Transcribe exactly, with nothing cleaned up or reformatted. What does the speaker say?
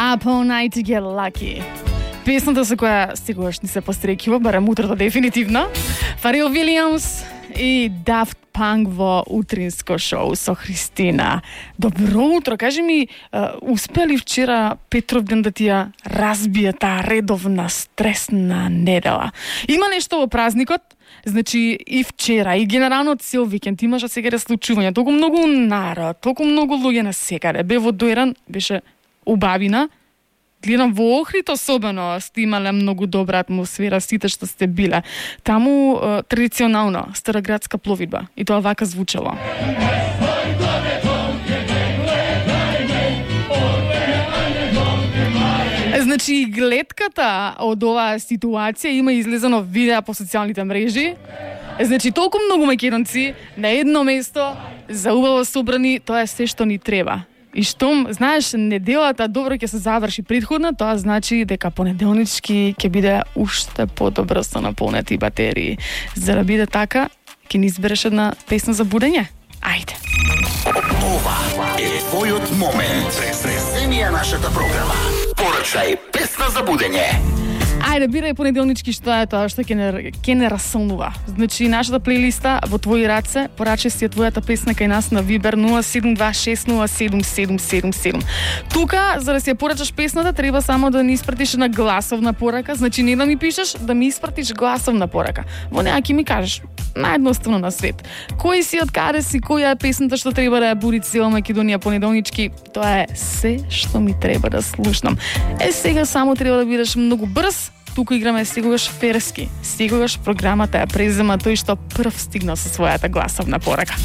Up All Night to Get Lucky. Песната со која секогаш ни се пострекива, барем утрото дефинитивно. Фарел Вилијамс и Daft Punk во утринско шоу со Христина. Добро утро, кажи ми, успели вчера Петровден да ти ја разбие таа редовна стресна недела? Има нешто во празникот? Значи и вчера, и генерално цел викенд имаше секаде случувања, толку многу народ, толку многу луѓе на секаде. Бе во Дојран, беше убавина. Гледам во Охрид особено сте имале многу добра атмосфера, сите што сте биле. Таму е, традиционално староградска пловидба и тоа вака звучало. Значи гледката од оваа ситуација има излезено видеа по социјалните мрежи. Значи толку многу македонци на едно место, заубаво собрани, тоа е се што ни треба. И штом, знаеш, неделата добро ќе се заврши предходна, тоа значи дека понеделнички ќе биде уште подобро со наполнети батерии. За да биде така, ќе ни избереш една песна за будење? Ајде. Ова е твојот момент. Преземи ја нашата програма. Порачај песна за будење. Ајде, бирај понеделнички што е тоа што ќе не, ќе не расолнува. Значи, нашата плейлиста во твои раце, порачај си ја твојата песна кај нас на Viber нула седум два шест нула седум седум седум седум. Тука, за да си ја порачаш песната, треба само да ни испратиш на гласовна порака. Значи, не да ми пишеш, да ми испратиш гласовна порака. Во неа ќе ми кажеш, наједноставно на свет. Кој си, од каде си, која е песната што треба да ја буди цела Македонија понеделнички, тоа е се што ми треба да слушнам. Е, сега само треба да бидеш многу брз. Тука играме секогаш ферски. Секогаш програмата ја презема тој што прв стигнал со својата гласовна порака.